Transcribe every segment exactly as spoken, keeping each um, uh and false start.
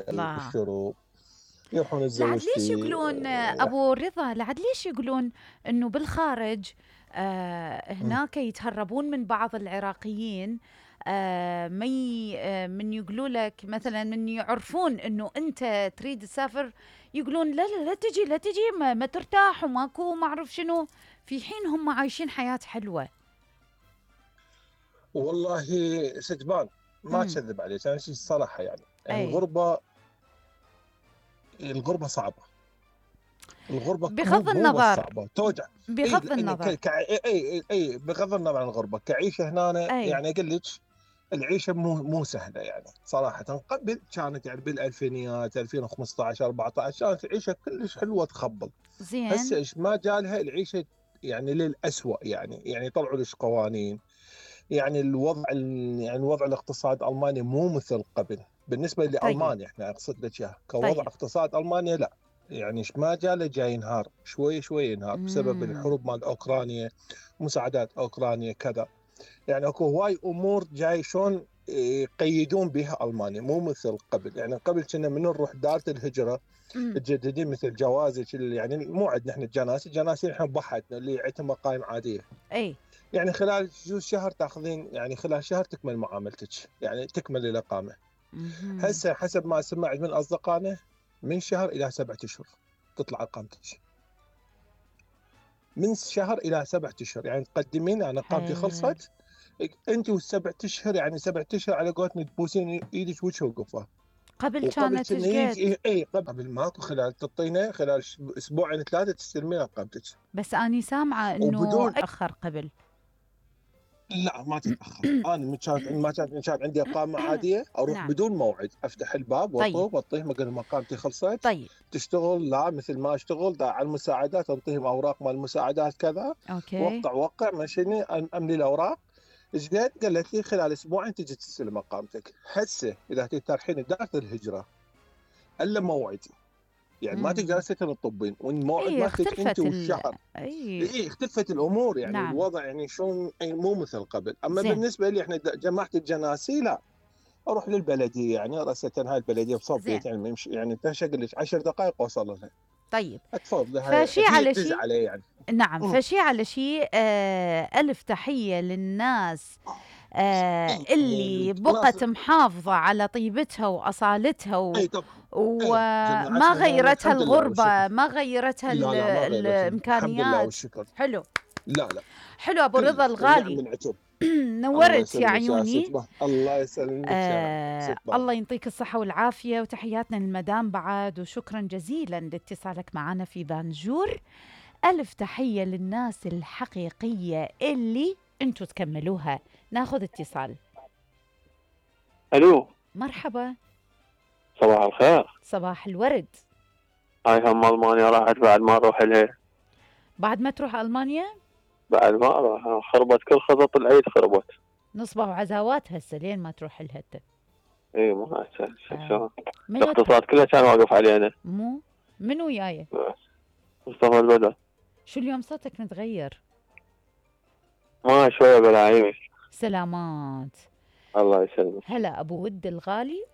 الله. الشروب، يروحون لعد ليش الزوجتي. يقولون آه، ابو رضا، لعد ليش يقولون انه بالخارج آه هناك يتهربون من بعض العراقيين، آه مي آه من يقولوا لك مثلا من يعرفون انه انت تريد تسافر، يقولون لا لا لا تجي لا تجي ما, ما ترتاح وماكو ما اعرف شنو، في حين هم عايشين حياة حلوة. والله سجبان، ما امم اكذب عليك، انا شيء الصراحه يعني اي، الغربه الغربه صعبه. الغربه مو بغض مو بس النظر، صعبه توجع. اي بغض لان ك... النظر. ك... اي اي اي بغض النظر عن الغربه كعيشه هنا، اي يعني اقول لك العيشه مو مو سهله يعني صراحه. قبل كانت يعني بالالفينيات ألفين وخمسطعش أربعطعش كانت العيشه كلش حلوه تخبل. هسه زين. ايش ما جالها العيشه يعني للأسوأ، يعني يعني طلعوا لش قوانين. يعني الوضع ال- يعني الوضع الاقتصاد المانيا مو مثل قبل بالنسبه طيب لالمانيا، احنا اقصد لك اياها كوضع طيب. اقتصاد المانيا لا. يعني ايش ما جاله جاي ينهار شوي شوي ينهار بسبب امم الحروب مال اوكرانيا، مساعدات اوكرانيا كذا. يعني اكو هواي امور جاي شلون يقيدون بها المانيا مو مثل قبل. يعني قبل كنا من نروح دارة الهجره امم تجددين مثل جوازك يعني مو عندنا احنا الجناسي، الجناسي احنا بحثنا اللي عندهم مقايم عاديه. اي. يعني خلال جوز شهر تاخذين، يعني خلال شهر تكمل معاملتك، يعني تكمل الإقامة. مهم. هسه حسب ما سمعت من أصدقائنا من شهر إلى سبعة أشهر تطلع إقامتك. من شهر إلى سبعة أشهر يعني تقدمين أنا إقامتي حلو. خلصت، أنت والسبعة أشهر يعني سبعة أشهر على قولتنا تبوسين إيدك وجه وقفة. قبل وقبل كانت كنا ايش قد؟ يجي اي قبل ماكو، خلال تعطينا خلال اسبوعين ثلاثه تستلمين اقامتك بس اني سامعه انه وبدون. اخر قبل. لا ما تتاخر. انا من كانت ما كانت من كانت عندي اقامه عاديه اروح نعم. بدون موعد، افتح الباب طيب واطوف واعطيهم اقول لهم اقامتي خلصت. طيب. تشتغل لا مثل ما اشتغل دا على المساعدات، انطيهم اوراق مال المساعدات كذا، اوكي. وقع وقع مشيني أم- املي الاوراق. ايش قد قالت لي خلال اسبوعين تجي تستلم اقامتك. هسه اذا تروحين دار الهجره الا موعد، يعني ما تقدر امم سكن الطبين والموعد اي مالتك انت اختلفت ال والشهر. اي. اي اختلفت الامور، يعني نعم. الوضع يعني شلون يعني مو مثل قبل. اما زين. بالنسبه لي احنا جماعه الجناسي لا، اروح للبلديه يعني راسه هاي البلديه بصوب زين. بيت يعني يمشي يعني تشقل لك عشر دقائق اوصل لها. طيب. اتفضل لها فشي هي على تدز شي. علي يعني. نعم، أمم. فشي على شي. آه ألف تحية للناس آه اي اللي ناس. بقت محافظة على طيبتها وأصالتها و... اي طبعا. اي وما جماعتنا هنا غيرتها الحمد لله والشكر. الغربة، ما غيرتها ال... لا لا ما غيرت الحمد لله الإمكانيات. والشكر. حلو. لا لا حلو أبو رضا كلش النعم الغالي. من عتب. الله نورت يا يسلمك يا ست عيوني. باه، الله يسلمك يا آه ست باه. الله يعطيك الصحة والعافية، وتحياتنا للمدام بعد، وشكرا جزيلا لاتصالك معنا في بانجور. ألف تحية للناس الحقيقية اللي انتوا تكملوها. ناخذ اتصال. الو، مرحبا. صباح الخير. صباح الورد. هاي هم المانيا راحت بعد ما اروح لها. بعد ما تروح ألمانيا؟ بعد ما اروح خربت كل خطط العيد خربت. نصبة وعزاوات هسه لين ما تروح لها انت. اي مو هسه آه. شلون منو ت... الاقتصاد كله كان واقف علينا. مو منو وياي؟ مصطفى البدر. شو اليوم صوتك متغير؟ ما شويه بلاعيمي. سلامات. الله يسلمك. هلا أبو ود الغالي.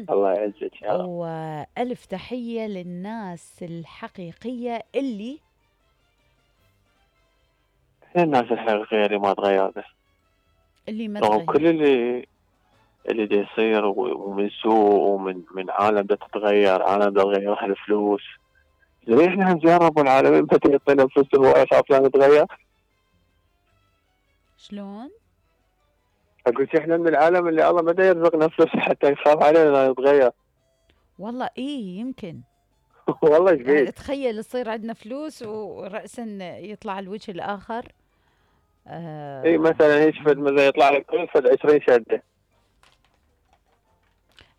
الله يعزك يا رب. وألف تحية للناس الحقيقية اللي هي الناس الحقيقيه اللي ما تغيرنا اللي ما رغم تغير. كل اللي اللي دا يصير ومن سوء ومن من عالم دا تتغير، عالم دا تغيرها الفلوس. ليه احنا نجرب والعالمين بدها يعطينا فلوس هواي خاف لا نتغير؟ شلون؟ اقول احنا من العالم اللي الله ما يرزقنا فلوس حتى يخاف علينا نتغير. والله ايه يمكن. والله ايش يعني بيك؟ تخيل يصير عندنا فلوس ورأسا يطلع الوجه الآخر. آه اي مثلا هيك فد مثلا يطلع لك كل فد عشرين شده. يعني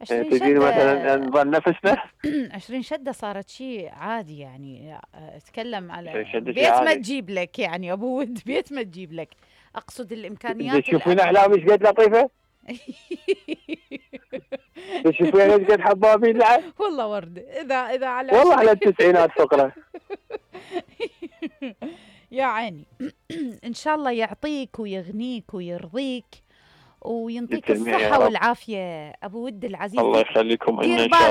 عشرين تجيني شدة. مثلا نظل نفسنا. عشرين شدة صارت شيء عادي يعني. اتكلم على شده شي بيت ما عادي. تجيب لك يعني ابو ود، بيت ما تجيب لك. اقصد الامكانيات تشوفين الأقل. احلام ايش قد لطيفه؟ تشوفين ايش قد حبابين لعب؟ والله ورد. اذا اذا على والله عشرين على التسعينات فقره. يا عيني. ان شاء الله يعطيك ويغنيك ويرضيك وينطيك للجميع يا الصحة رب. والعافية أبو ود العزيز. الله يخليكم لنا دير ان شاء الله. بالك